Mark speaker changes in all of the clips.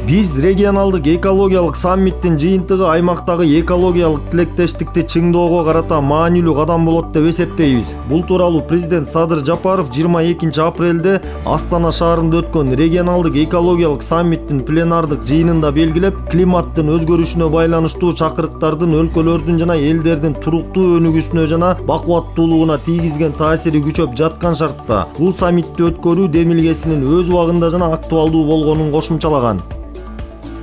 Speaker 1: Биз регионалдык экологиялык саммиттин жыйынтыгы аймактагы экологиялык тилектештикти чыңдоого карата маанилүү кадам болот деп эсептейбиз. Бул тууралуу президент Садыр Жапаров 22 апрелде Астана шаарында өткөн регионалдык экологиялык саммиттин пленардык жыйынында белгилеп, климаттын өзгөрүшүнө байланыштуу чакырыктардын өлкөлөрдүн жана элдердин туруктуу өнүгүүсүнө жана бакубаттуулугуна тийгизген таасири күчөп жаткан шартта бул саммитти өткөрүү демилгесинин өз убагында жана актуалдуу болгонун кошумчалаган.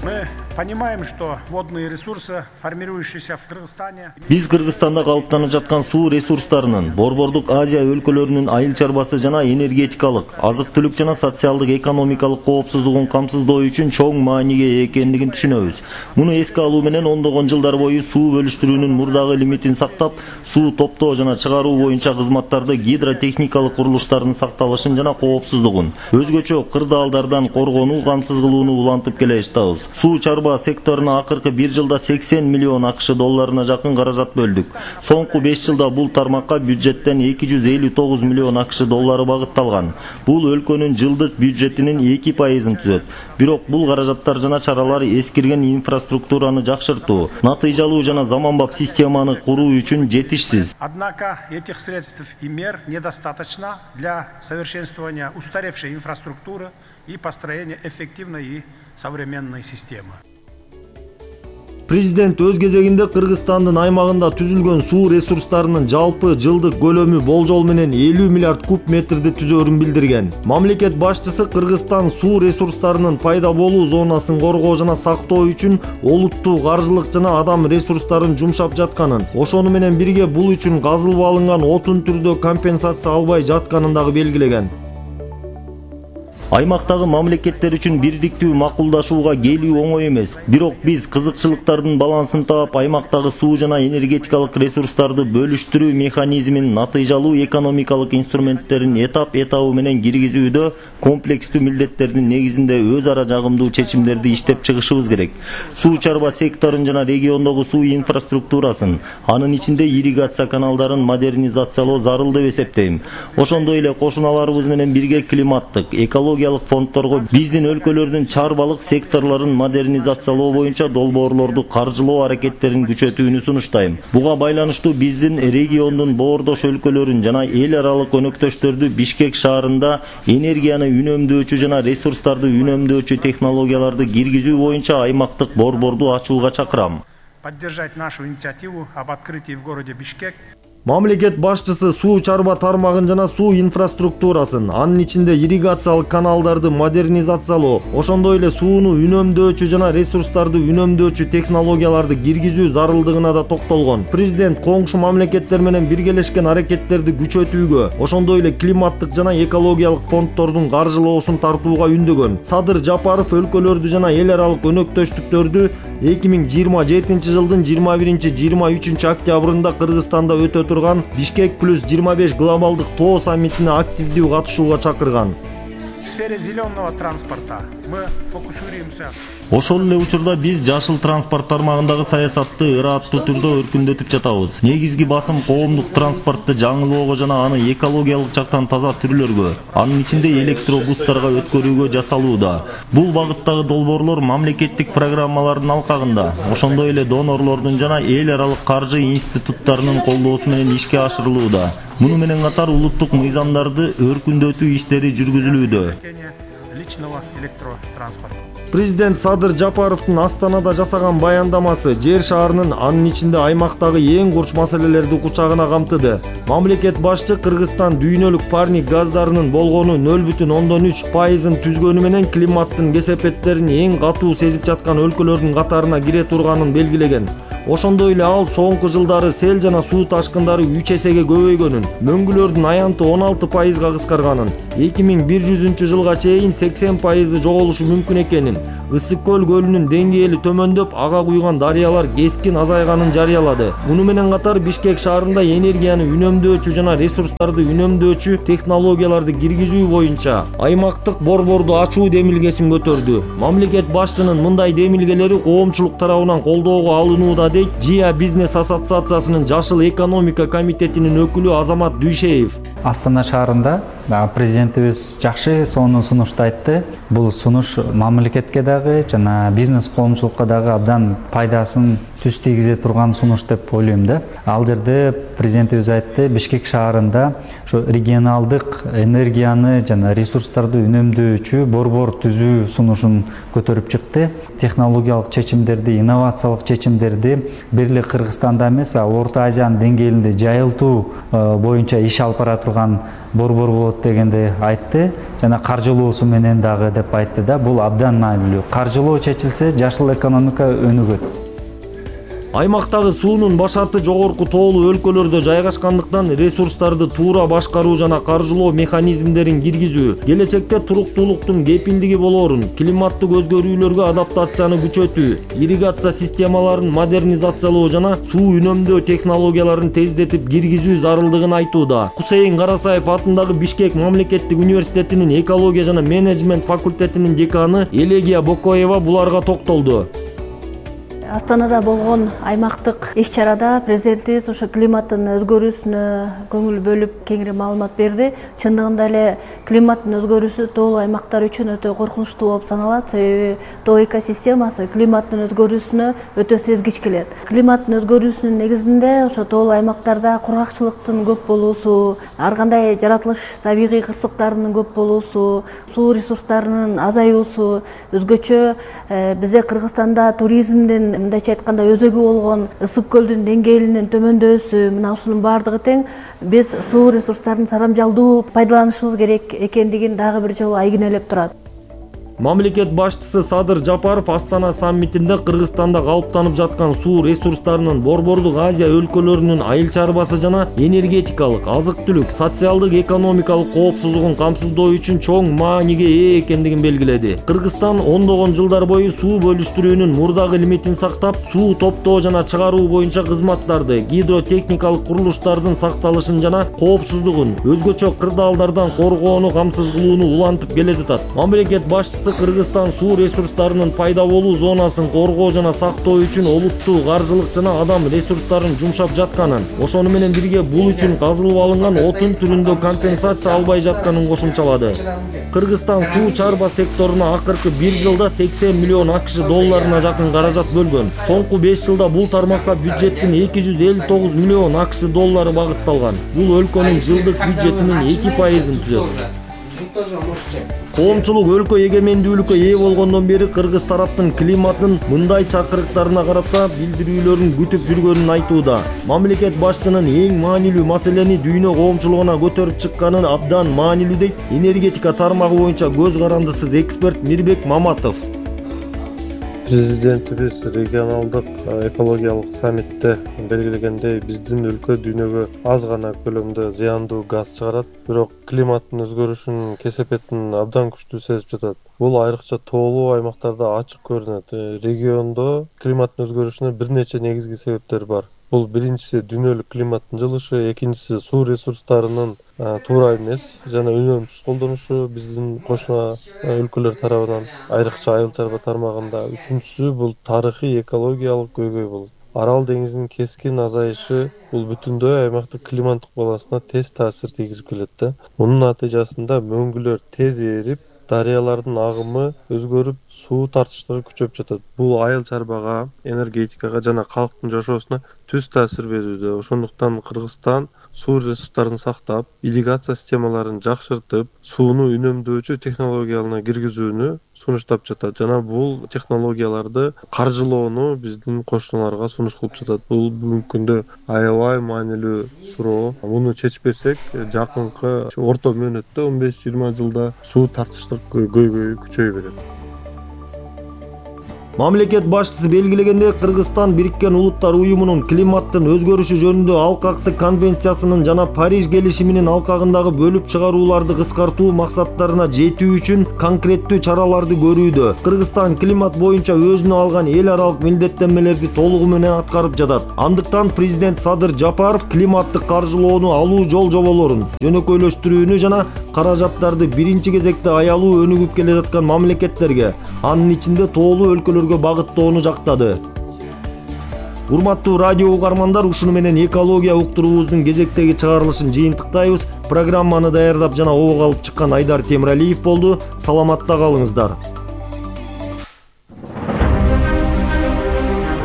Speaker 2: Мы понимаем, что водные ресурсы, формирующиеся в Кыргызстане.
Speaker 3: Биз Кыргызстанда калыптанып жаткан суу ресурстарынын, Борбордук Азия өлкөлөрүнүн айыл чарбасы жана энергетикалык, азык-түлүк жана социалдык экономикалык коопсуздугун камсыздоо үчүн чоң мааниге экендигин түшүнөбүз. Муну эске алуу менен ондогон жылдар бою суу бөлүштүрүүнүн мурдагы лимитин сактап, суу топтоо жана чыгаруу боюнча кызматтарды гидротехникалык курулуштардын сакталышын жана коопсуздугун, өзгөчө кырдаалдардан коргонуу, камсыз кылууну улантып келе жатабыз. Суу чарба секторуна акыркы 1 жылда 80 миллион АКШ долларына жакын каражат бөлдүк. Соңку 5 жылда бул тармакка бюджеттен 259 миллион АКШ доллары багытталган. Бул өлкөнүн жылдык бюджетинин 2%-ын түзөт. Бирок бул каражаттар жана чаралар эскирген инфраструктураны жакшыртуу, натыйжалуу жана заманбап системаны куруу үчүн жетишсиз.
Speaker 2: Однако этих средств и мер недостаточно для совершенствования устаревшей инфраструктуры и построения эффективной и современной системы.
Speaker 1: Президент өз кезегинде Кыргызстандын аймагында түзүлгөн суу ресурстарынын жалпы жылдык көлөмү болжол менен 50 миллиард куб метрди түзөөрүн билдирген. Мамлекет башчысы Кыргызстан суу ресурстарынын пайда болуу зонасын коргоо жана сактоо үчүн олуттуу каржылык жана адам ресурстарын жумшап жатканын, ошону менен бирге бул үчүн казылып алынган отун түрдө компенсация албай жатканын дагы белгилеген.
Speaker 3: Аймактагы мамлекеттер үчүн бирдиктүү макулдашууга келүү оңой эмес. Бирок биз кызыкчылыктардын балансын таап, аймактагы суу жана энергетикалык ресурстарды бөлүштүрүү механизмин натыйжалуу экономикалык инструменттерин этап-этабы менен киргизүүдө комплекстүү милдеттердин негизинде өз ара жагымдуу чечимдерди иштеп чыгышыбыз керек. Суу чарба секторун жана региондогу суу инфраструктурасын, анын ичинде ирригация каналдарын модернизациялоо зарыл деп эсептейм. Ошондой эле кошуналарыбыз менен бирге климаттык, экологиялык фондторго биздин өлкөлөрдүн чарбалык секторлорун модернизациялоо боюнча долбоорлорду каржылоо аракеттерин күчөтүүнү сунуштайм. Буга байланыштуу биздин региондун боордош өлкөлөрүн жана эл аралык өнөктөштөрдү Бишкек шаарында энергияны үнөмдөөчү жана ресурстарды үнөмдөөчү технологияларды киргизүү боюнча аймактык борборду ачууга чакырам.
Speaker 2: Поддержать нашу инициативу об открытии в городе Бишкек.
Speaker 1: Мамлекет башчысы суу чарба тармагын жана суу инфраструктурасын, анын ичинде ирригациялык каналдарды модернизациялоо, ошондой эле сууну үнөмдөөчү жана ресурстарды үнөмдөөчү технологияларды киргизүү зарылдыгына да токтолгон. Президент коңшу мамлекеттер менен биргелешкен аракеттерди күчөтүүгө, ошондой эле климаттык жана экологиялык фонддордун каржылоосун тартууга үндөгөн. Садыр Жапаров өлкөлөрдү жана эл аралык өнөктөштүктөрдү 2027 жылдын 21-23 октябрында Кыргызстанда өтө турган Бишкек плюс 25 глобалдык тоо саммитине активдүү катышууга чакырган.
Speaker 2: В сфере зеленого транспорта мы фокусируемся.
Speaker 3: Ошол эле учурда биз жашыл транспорт тармагындагы саясатты ырааттуу түрдө өркүндөтүп жатабыз. Негизги басым коомдук транспортты жаңылоого жана аны экологиялык жактан таза түрлөргө, анын ичинде электробустарга өткөрүүгө жасалууда. Бул багыттагы долбоорлор мамлекеттик программалардын алкагында, ошондой эле донорлордун жана эл аралык каржы институттарынын колдоосу менен ишке ашырылууда. Муну менен катар улуттук мыйзамдарды өркүндөтүү иштери жүргүзүлүүдө.
Speaker 2: Личного электротранспорта.
Speaker 1: Президент Садыр Жапаровдун Астанада жасаган баяндамасы жер шаарынын, анын ичинде аймактагы эң курч маселелерди кучагына камтыды. Мамлекет башчы Кыргызстан дүйнөлүк парник газдарынын болгону 0,3%-ын түзгөнү менен климаттын кесепеттерин эң катуу сезип жаткан өлкөлөрдүн катарына кире турганын белгилеген. Ошондой эле ал соңку жылдары сел жана суу ташкындары 3 эсеге көбөйгөнүн, мөңгүлөрдүн аянты 16%-га кыскарганын, 2100 жылга чейин 80% жоголушу мүмкүн экенин, Ысык көл көлүнүн деңгээли төмөндөп, ага куйган дарыялар кескин азайганын жарыялады. Муну менен катар Бишкек шаарында энергияны үнөмдөөчү жана ресурстарды үнөмдөөчү технологияларды киргизүү боюнча аймактык борборду ачуу демилгесин көтөрдү. Мамлекет башчынын мындай демилгелери коомчулук тарабынан колдоого алынууда дейт ЖИА бизнес ассоциациясынын Жашыл экономика комитетинин өкүлү Азамат Дүйшеев.
Speaker 4: Астана шаарында президентибиз жакшы сонун сунушту айтты. Бул сунуш мамлекетке дагы жана бизнес коомчулукка дагы абдан пайдасын түз тийгизе турган сунуш деп ойлойм да. Ал жерде президентибиз айтты, Бишкек шаарында ошо регионалдык энергияны жана ресурстарды үнөмдөөчү борбор түзүү сунушун көтөрүп чыкты. Технологиялык чечимдерди, инновациялык чечимдерди бир эле Кыргызстанда эмес, Орто Азиянын деңгээлинде жайылтуу боюнча иш алып бара турган борбор болот дегенди айтты. Жана каржылоосу менен дагы деп айтты да. Бул абдан маанилүү. Каржылоо чечилсе, жашыл экономика өнүгөт.
Speaker 1: Аймактагы суунун башаты жогорку тоолуу өлкөлөрдө жайгашкандыктан ресурстарды туура башкаруу жана каржылоо механизмдерин киргизүү келечекте туруктуулуктун кепилдиги болоорун, климаттык өзгөрүүлөргө адаптацияны күчөтүү, ирригация системаларын модернизациялоо жана суу үнөмдөө технологияларын тездетип киргизүү зарылдыгын айтууда. Кусейин Карасаев атындагы Бишкек мамлекеттик университетинин экология жана менеджмент факультетинин деканы Элегия Бокоева буларга токтолду.
Speaker 5: Астанада болгон аймактык иш-чарада президентибиз ошо климаттын өзгөрүүсүнө көңүл бөлүп кеңири маалымат берди. Чындыгында эле климаттын өзгөрүүсү тоолуу аймактар үчүн өтө коркунучтуу болуп саналат. Себеби тоо экосистемасы климаттын өзгөрүүсүнө өтө сезгич келет. Климаттын өзгөрүүсүнүн негизинде ошо тоолуу аймактарда кургакчылыктын көп болуусу, ар кандай жаратылыш табигый кырсыктарынын көп болуусу, суу ресурстарынын азаюусу, өзгөчө бизде Кыргызстанда туризмдин мындайча айтканда өзөгү болгон ысык көлдүн деңгээлинин төмөндөсү, мына ушунун баардыгы тең биз суу ресурстарын сарамжалдуу пайдаланышыбыз керек экендигин дагы бир жолу айгинелеп турат.
Speaker 1: Мамлекет башчысы Садыр Жапаров Астана саммитинде Кыргызстанда калыптанып жаткан суу ресурстарынын Борбордук Азия өлкөлөрүнүн айыл чарбасы жана энергетикалык, азык-түлүк, социалдык, экономикалык коопсуздугун камсыздоо үчүн чоң мааниге ээ экендигин белгиледи. Кыргызстан ондогон жылдар бою суу бөлүштүрүүнүн мурдагы лимитин сактап, суу топтоо жана чыгаруу боюнча кызматтарды, гидротехникалык курулуштардын сакталышын жана коопсуздугун, өзгөчө кырдаалдардан коргоону камсыз кылууну улантып келе жатат. Мамлекет башчысы Кыргызстан суу ресурстарынын пайда болуу зонасын коргоо жана сактоо үчүн олуттуу каржылык жана адам ресурстарын жумшап жатканын, ошону менен бирге бул үчүн казылып алынган отун түрүндө компенсация албай жатканын кошумчалады. Кыргызстан суу чарба секторуна акыркы 1 жылда 80 миллион АКШ долларына жакын каражат бөлгөн. Соңку 5 жылда бул тармакка бюджеттин 259 миллион АКШ доллары багытталган. Бул өлкөнүн жылдык бюджетинин 2%-ын түзөт. Коомчулук өлкө эгемендүүлүккө ээ болгондон бери кыргыз тараптын климаттын мындай чакырыктарына карата билдирүүлөрүн күтүп жүргөнүн айтууда. Мамлекет башчынын эң маанилүү маселени дүйнө коомчулугуна көтөрүп чыкканын абдан маанилүү дейт энергетика тармагы боюнча көз карандысыз эксперт Мирбек Маматов.
Speaker 6: Президентибиз регионалдык экологиялык саммитте белгилегендей биздин өлкө дүйнөгө аз гана көлөмдө зыяндуу газ чыгарат, бирок климаттын өзгөрүшүнүн кесепетин абдан күчтүү сезип жатат. Бул айрыкча тоолуу аймактарда ачык көрүнөт. Региондо климаттын өзгөрүшүнө бир нече негизги себептер бар. Бул биринчиси дүйнөлүк климаттын жылышы, экинчиси суу ресурстарынын туура эмес жана үнөмсүз колдонушу биздин кошуна өлкөлөр тарабынан, айрыкча айыл чарба тармагында. Үчүнчүсү бул тарыхый экологиялык көйгөй болот. Арал деңизинин кескин азайышы бул бүтүндөй аймактык климаттык балансына тез таасир тийгизип келет да. Мунун натыйжасында мөңгүлөр тез эрип, дарыялардын агымы өзгөрүп, суу тартыштыгы күчөп жатат. Бул айыл чарбага, энергетикага жана калктын жашоосуна түз таасир берүүдө. Ошондуктан Кыргызстан суу ресурстарын сактап, ирригация системаларын жакшыртып, сууну үнөмдөөчү технологияларына киргизүүнү сунуштап жатат. Жана бул технологияларды каржылоону биздин кошуналарга сунуш кылып жатат. Бул бүгүнкү күндө аябай маанилүү суроо. Муну чечпесек, жакынкы орто мөөнөттө 15-20 жылда суу тартыштык көйгөйү күчөйө берет.
Speaker 1: Мамлекет башчысы белгилегенде Кыргызстан Бириккен Улуттар Уюмунун климаттын өзгөрүшү жөнүндө алкактык конвенциясынын жана Париж келишиминин алкагындагы бөлүп чыгарууларды кыскартуу максаттарына жетүү үчүн конкреттүү чараларды көрүүдө. Кыргызстан климат боюнча өзүнө алган эл аралык милдеттенмелерди толугу менен аткарып жатат. Андыктан президент Садыр Жапаров климаттык каржылоону алуу жол жоболорун жөнөкөйлөштүрүүнү жана каражаттарды биринчи кезекте аялуу өнүгүп келе жаткан мамлекеттерге, анын ичинде тоолуу өлкөлөр багыттоону жактады. Урматтуу радио угармандар, ушуну менен экология уктуруубуздун кезектеги чыгарылышын жыйынтыктайбыз. Программаны даярдап жана обого алып чыккан Айдар Темиралиев болду. Саламатта калыңыздар.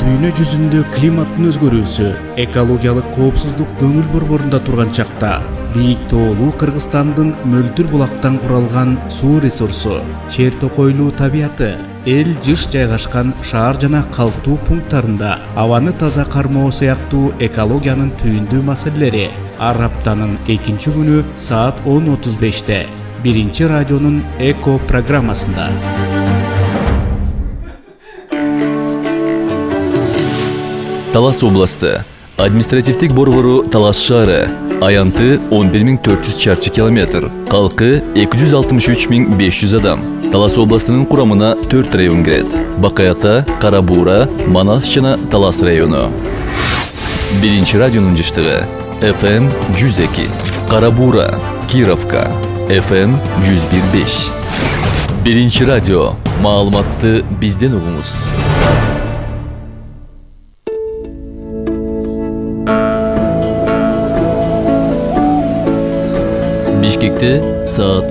Speaker 7: Дүйнө жүзүндө климаттын өзгөрүүсү, экологиялык коопсуздук көңүл борборунда турган чакта бийик тоолуу Кыргызстандын мөлдүр булактан куралган суу ресурсу, чер токойлуу табияты, эл жыш жайгашкан шаар жана калктуу пункттарында абаны таза кармоо сыяктуу экологиянын түйүндүү маселелери ар аптанын 2-күнү саат 10:35-те биринчи радионун эко программасында.
Speaker 8: Талас областы, административдик борбору Талас шаары, аянты 11400 чарчы километр, калкы 263500 адам. Талас областынын курамына 4 район кирет: Бакаята, Карабуура, Манас жана Талас району. Биринчи радионун жыштыгы FM 102, Карабуура, Кировка, FM 101.5. Биринчи радио, маалыматты бизден угуңуз. Бишкекте саат